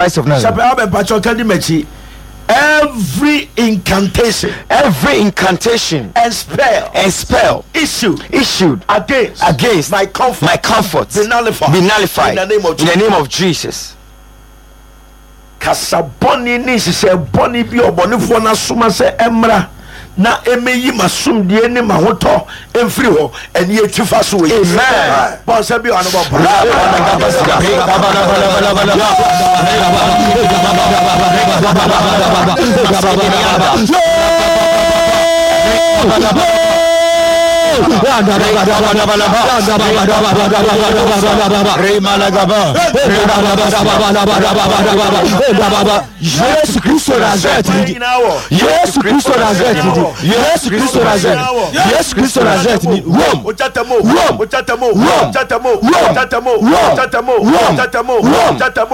Christ of Nazareth. Shepherd Albert mpakyɛw ka di m'akyi. Every incantation. Every incantation. And spell. And spell. Issued. Issued. Against. Against. My comfort. My comfort. Be nullified. Be nullified. In the name of Jesus. In the name of Jesus. Kasa bɔne ne nhyehyɛe bɔne bi a ɔbɔnefoɔ no asoma sɛ ɛmmra na ɛmɛyi m'asomdue ne m'ahotɔ mfiri hɔ ɛne yɛtwi fa so wɔ Yesu. Amen. Bɔ nsɛm bi ɔno bɔ mpa. Yesu Kristo Nazareth ni di. Yesu Kristo Nazareth ni di. Yesu Kristo Nazareth. Yesu Kristo Nazareth ni. Rome. Rome. Rome. Rome. Rome.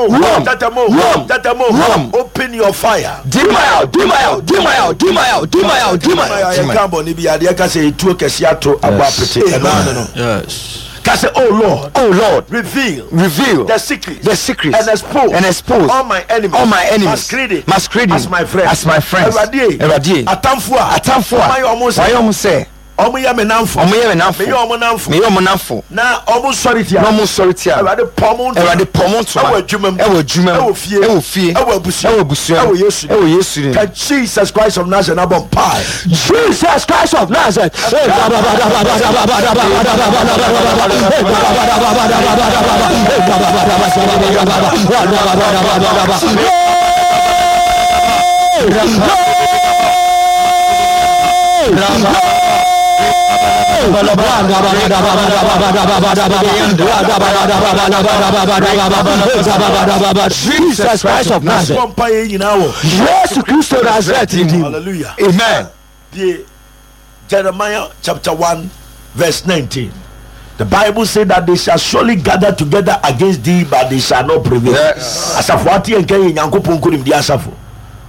Rome. Rome. Rome. Rome. Open your fire. Dimael, Dimael, Dimael, Dimael, Dimael, Dimael. Yɛka bɔne bi adeɛ ka sɛ ɛtuo kɛseɛ ato abɔ apete ɛno ano no. Yes. Ka sɛ, Oh Lord. Oh Lord. Reveal. Reveal. The secret. The secret. And expose. And expose. All my enemies. All my enemies. Masquerading. Masquerading. As my friends. As my friends. Awurade. Awurade. Atamfo a. Atamfo a. Wɔayɛ ɔmo sɛ. Wɔayɛ ɔmo sɛ. Ɔmo yɛ me namfo. Ɔmo yɛ me namfo. Meyɛ ɔmo namfo. Meyɛ ɔmo namfo. Na ɔmo sɔre tia. Na ɔmo sɔre tia. Awurade pɔ ɔmo ntoma. Awurade pɔ ɔmo ntoma. Ɛwɔ adwuma mu. Ɛwɔ adwuma mu. Ɛwɔ fie. Ɛwɔ fie. Ɛwɔ abusua. Ɛwɔ abusua. Ɛwɔ Yesu. Ɛwɔ Yesu dim. Ka Jesus Christ of Nazareth abɔ mpae. Jesus Christ of Nazareth. Jesus Christ of Nazareth. Bɔ mpae yɛ nyinaa wɔ. Yesu Kristo Nazareth ni. Hallelujah. Amen. The Jeremiah chapter 1 verse 19. The Bible said that they shall surely gather together against thee, but they shall not prevail. Yes. Asafo ate yɛn kan yɛ Nyankopɔn nkonimdi asafo.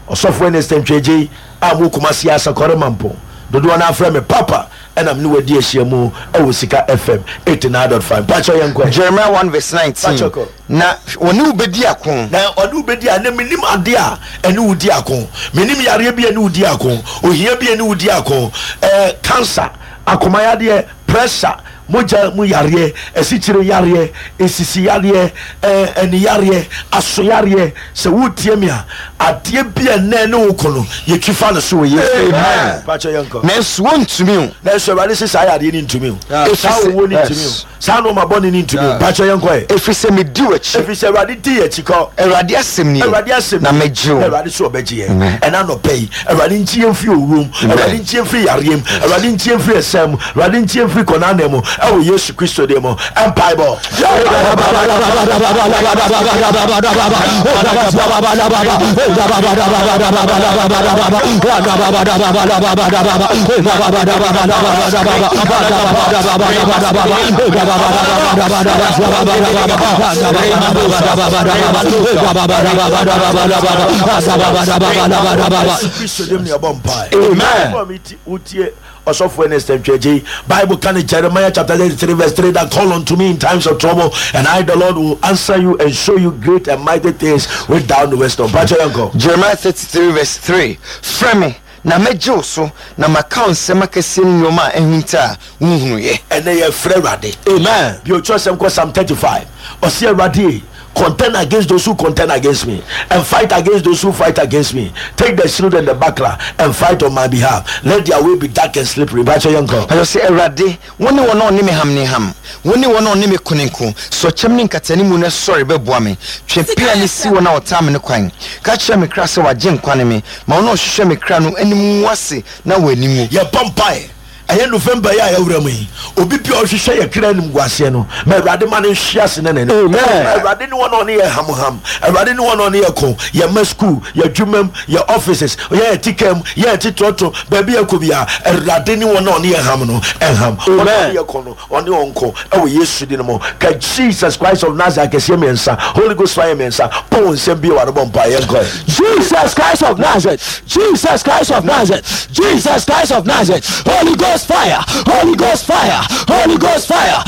Ɔsɔfo Ernest Ntwegye a mo Kumasi Asakɔre Mampɔn. Dodoɔ no afrɛ me Papa ɛna me ne wadi ahyia mu ɛwɔ Sika FM 89.5. Mpakyɛ yɛn kɔ. Jeremiah 1 verse 19. Mpakyɛ kɔ. Na wɔne wo bɛdi ako. Na ɔne wo bɛdi a na menim adeɛ a ɛne wo di ako. Menim yareɛ bi a ɛne wo di ako. Ohia bi a ɛne wo di ako. Ɛɛ cancer, akomayadeɛ, pressure, mogya mu yareɛ, asikyire yareɛ, nsisi yareɛ, ɛɛ ani yareɛ, aso yareɛ. Sɛ woretie me a, adeɛ bi a ɛnɛ ɛne wo ko no, yɛtwi fa no so wɔ Yesu. Amen. Pakyɛ yɛnkɔ. Nanso wɔntumi o. Nanso Awurade se saa yareɛ no ntumi o. Saa owuo no ntumi o. Saa nnoɔma bɔne no ntumi o. Mpakyɛ yɛnkɔ ɛ. Ɛfiri sɛ medi w'akyi. Ɛfiri sɛ Awurade di yɛn akyi kɔ. Awurade asɛm nie. Awurade asɛm Na nie. mɛgye wo. Na Awurade so ɔbɛgye yɛn. Amen. Ɛna anɔpa yi, Awurade nkye yɛn mfiri owuo mu. Awurade nkye yɛn mfiri yareɛ mu. Awurade nkye yɛn mfiri ɛsɛn mu. Awurade nkye yɛn mfiri kɔnanɛ mu. Ɛwɔ Yesu Kristo din mu. Mpaebɔ. Yesu Kristo din mu na yɛbɔ mpae. Amen. Before me ti- wotie Ɔsɔfo Ernest Ntwegye, Bible ka no Jeremiah chapter 33 verse 3 that call unto me in times of trouble and I the Lord will answer you and show you great and mighty things which thou knowest not. Mpakyɛ yɛnkɔ. Jeremiah 33 verse 3 Frɛ me, na mɛgye wo so, na maka wo nsɛm akɛseɛ ne nnoɔma a ahinta a wonhunuiɛ. Ɛnɛ yɛfrɛ Awurade. Amen. Bio twerɛsɛm kɔ Psalm 35. Ɔse Awurade contend against those who contend against me and fight against those who fight against me. Take the shield and the buckler and fight on my behalf. Let their way be dark and slippery. Mpakyɛ yɛnkɔ. Mpakyɛ ɔse Awurade, wo ne wɔn a wɔne me ham ne ham, wo ne wɔn a wɔne me ko ne nko. Sɔ kyɛm ne nkatanimu na sɔre bɛboa me. Twe pea no si wɔn a wɔtaa me no kwan. Ka kyerɛ me kra sɛ w'agyenkwa ne me. Ma wɔn a wɔhwehwɛ me kra no anim ngu ase na wɔn ani nwu. Yɛbɔ mpaeɛ. Ɛyɛ November yi a yɛawura mu yi, obi bi a ɔhwehwɛ yɛ kra animguaseɛ no, ma Awurade ma no nhwe ase ne n'anim. Amen. Awurade ne wɔn a ɔne yɛ hamham. Awurade ne wɔn a ɔne yɛ ko, yɛ mma school, yɛ adwuma mu, yɛ offices, yɛ yɛ tika mu, yɛ yɛ tetrɔtɔ, baabi yɛ kɔ biara. Awurade ne wɔn a ɔne yɛ ham no nham. Wɔn a ɔne yɛ ko no, ɔne wɔn nko. Ɛwɔ Yesu din mu. Ka Jesus Christ of Nazareth akɛseɛ mmiɛnsa, Holy Ghost fire mmiɛnsa, bɔ wo nsam bio ano bɔ mpaeɛ, yɛnkɔ. Jesus Christ of Nazareth, Jesus Christ of Nazareth, Jesus Christ of Nazareth, Holy Ghost. Ghost fire, Holy Ghost fire, Holy Ghost fire.